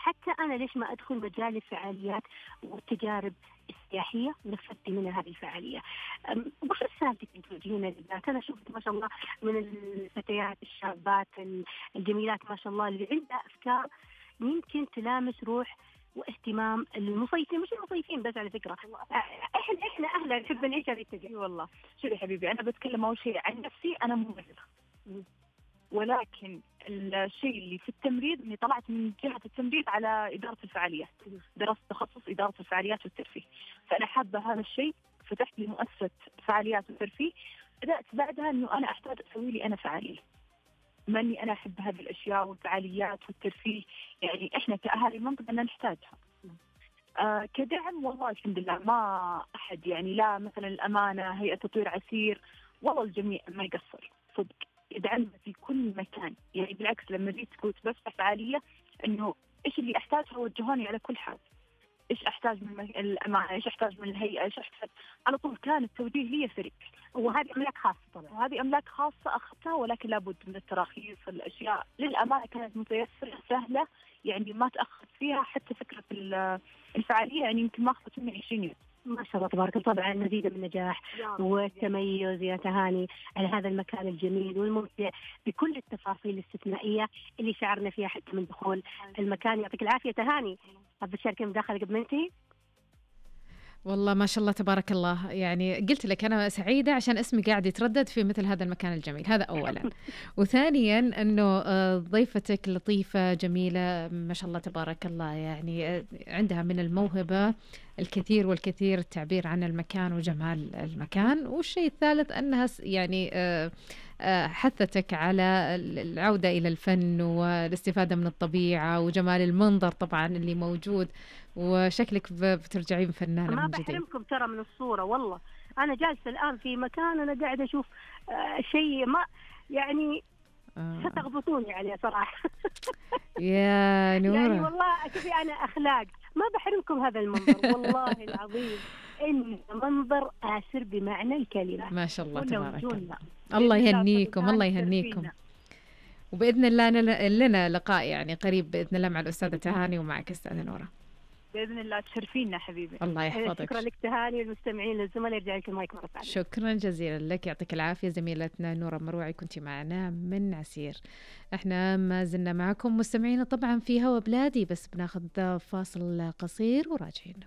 حتى أنا ليش ما أدخل مجال الفعاليات والتجارب السياحية ونفذت منها هذه الفعالية. وش رسالتك توجهينا للبنات؟ أنا شفت ما شاء الله من الفتيات الشابات الجميلات ما شاء الله اللي عندها أفكار يمكن تلامس روح واهتمام المصيفين، مش المصيفين بس على فكرة، احنا اهلا نحب نعيش هذه التجربة. والله شوفي يا حبيبي، انا بتكلم اول شيء عن نفسي، انا ممرضة، ولكن الشيء اللي في التمريض اني طلعت من جهة التمريض على إدارة الفعاليات، درست تخصص إدارة الفعاليات والترفيه، فأنا حابة هذا الشيء. فتحت لي مؤسسة فعاليات وترفيه، بدأت بعدها انه انا احتاج اسوي لي انا فعالية، بما اني انا احب هذه الاشياء والفعاليات والترفيه، يعني احنا كأهالي المنطقة أننا نحتاجها. كدعم والله الحمد لله ما أحد، يعني لا مثلا الأمانة، هيئة تطوير عسير، والله الجميع ما يقصر صدق، يدعمنا في كل مكان. يعني بالعكس لما جيت قلت بفتح فعالية إنه إيش اللي أحتاجها وجهوني على كل حال، إيش أحتاج من الأمانة، إيش أحتاج من الهيئة، إيش أحتاج، على طول كان التوجيه لي فريق. وهذه أملاك خاصة طبعا، وهذه أملاك خاصة أخذتها، ولكن لابد من التراخيص، الأشياء للأمانة كانت متيسرة سهلة، يعني ما تأخذت فيها. حتى فكرة الفعالية يعني يمكن ما أخذت مني 20 يوم. ما شاء الله تبارك الله. طبعا مزيد من النجاح والتميز يا تهاني على هذا المكان الجميل والممتع بكل التفاصيل الاستثنائية اللي شعرنا فيها حتى من دخول المكان. يعطيك العافية تهاني. حابة تشاركي مداخلة قبل ما ننتهي؟ والله ما شاء الله تبارك الله، يعني قلت لك أنا سعيدة عشان اسمي قاعد يتردد في مثل هذا المكان الجميل، هذا أولا. وثانيا أنه ضيفتك لطيفة جميلة ما شاء الله تبارك الله، يعني عندها من الموهبة الكثير والكثير التعبير عن المكان وجمال المكان. والشيء الثالث أنها يعني حثتك على العودة إلى الفن والاستفادة من الطبيعة وجمال المنظر طبعا اللي موجود، وشكلك بترجعين فنانة ما من جديد. بحرمكم ترى من الصورة، والله أنا جالسة الآن في مكان أنا قاعدة أشوف شيء ما يعني ستغبطوني عليه صراحة. يا نورة يعني والله شوفي أنا أخلاق ما بحرمكم هذا المنظر، والله العظيم إن منظر آسر بمعنى الكلمة. ما شاء الله تبارك الله. الله يهنيكم، الله يهنيكم. وبإذن الله لنا لقاء يعني قريب بإذن الله مع الأستاذة تهاني ومعك أستاذة نورة بإذن الله. تشرفينا حبيبي. الله يحفظك. شكرا لك تهاني، والمستمعين للزملاء يرجع لك المايك مرة ثانية. شكرا جزيلا لك، يعطيك العافية زميلتنا نورة مروعي، كنتي معنا من عسير. احنا ما زلنا معكم مستمعين طبعا في هوا بلادي، بس بناخذ فاصل قصير وراجعين.